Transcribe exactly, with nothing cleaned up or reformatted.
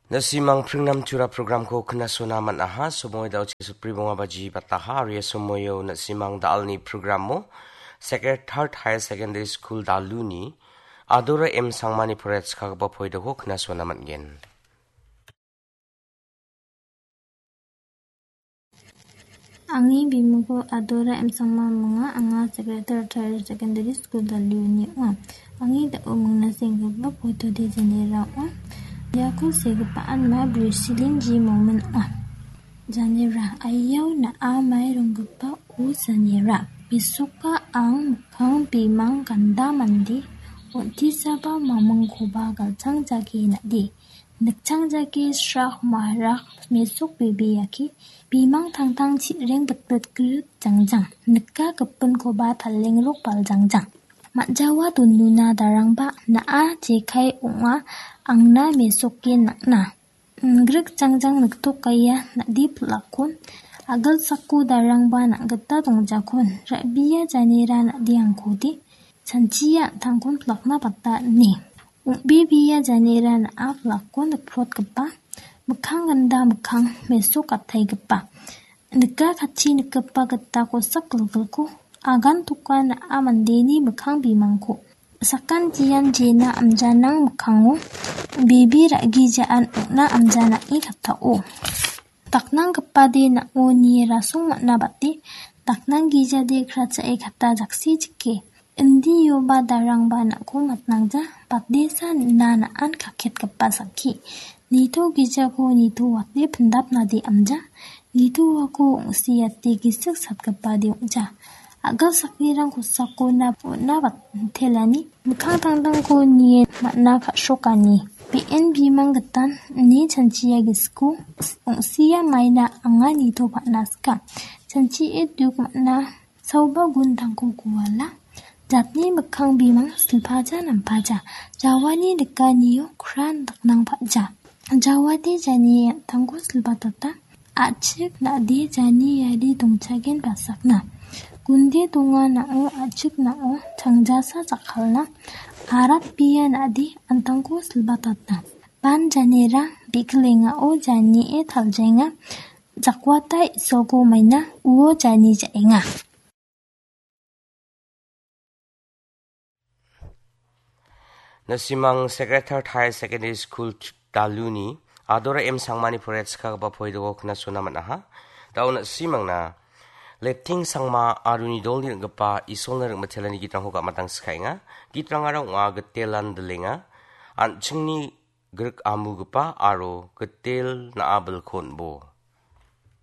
Na·simang pringnam tura programko knasona man·aha, somoy da·o chisopri bonga baji bataha, aro ia somoyo na·simang da·alni programo Sacred Heart Higher Secondary School Daluni Adora M Sangmani poraiatskagipa poidoko knasona man·gen. Angni bimingko Adora M Sangma ong·a, anga Sacred Heart Higher Secondary School Daluni ong·a. Angni da·o mingna senggipa poitode janera ong·a. Iako segipa anma Brusilin G Momin ong·a. Janera, aiao na·a mai ronggipa o janera. Mesoka ang mikkang bimang ganda mande, on·tisaba mamingkoba galchang jage na·de. Nikchang jake srak mahrak mesok bebeaki, bimang tangtang chi·reng bitbit grik jangjang. Nika gipinkoba palengrok baljangjang. Ma·jawa donuna darangba na·a jekai ong·a angna mesoke nang·na. Grik jangjang niktokaia na·de pil·akon, agilsako darangba nang·gita dongjakon, ra·bia janera na·de angkode, chanchia an·tangkon pilakna bata ine. Ong·bebea janera na·a pilakon nikprotgipa, mikkang ganda mikkang mesok gataigipa. Nika katchi nikgipa gita kosak gilgilko, agan toka na·a mandeni mikkang bimangko. Sakan jian jena amjanang mikkango bebe ra·gijaan ong·na amjanange katao. Daknanggipade nang·o nie rasong man·a bate, daknanggijade krachae kata jaksi jike. Indioba darangba nang·ko matnangja, batesa nina na·an kaketgipa sakki. Nito gijako nito wate pindapnade amja, nitoako ong·siate gisik satgipade ong·ja. A·gilsaknirang kosakona on·a batelani, mikkang tangtangko nie man·a ka·srokani. Be·en bimang gitan ine chanchia gisiko, ong·sia maina anga nitoba·na sika. Chanchie duk man·a saoba guntangko guala. Jatni mikkang bimang silpaja nampaja. Jawani nikanio kran daknang pa·ja. Jawade jani an·tangko silbatata. A·chik na·de jani iari dongchagen basakna. Gunde donga na·o a·chik na·o changjasa jakkalna. Arat bia na·de an·tangko silbatata. Ban janera be·kilengao janie taljaenga. Jakwata Isolko maina uo jani ja·enga. Na·simang Sacred Heart Higher Secondary School Ch-, Daluni Adora M Sangmani poraiatskagipa poidoko knasona man·aha. Da·o na·simangna Leting Sangma aro uni dolni ring·gipa Isolna ring·mitelani gitrangko gamatang sikaenga. Gitrangara ong·a Gitelan Dilenga, An·chingni Grik Amugipa aro Gitel Na·a Bilkonbo.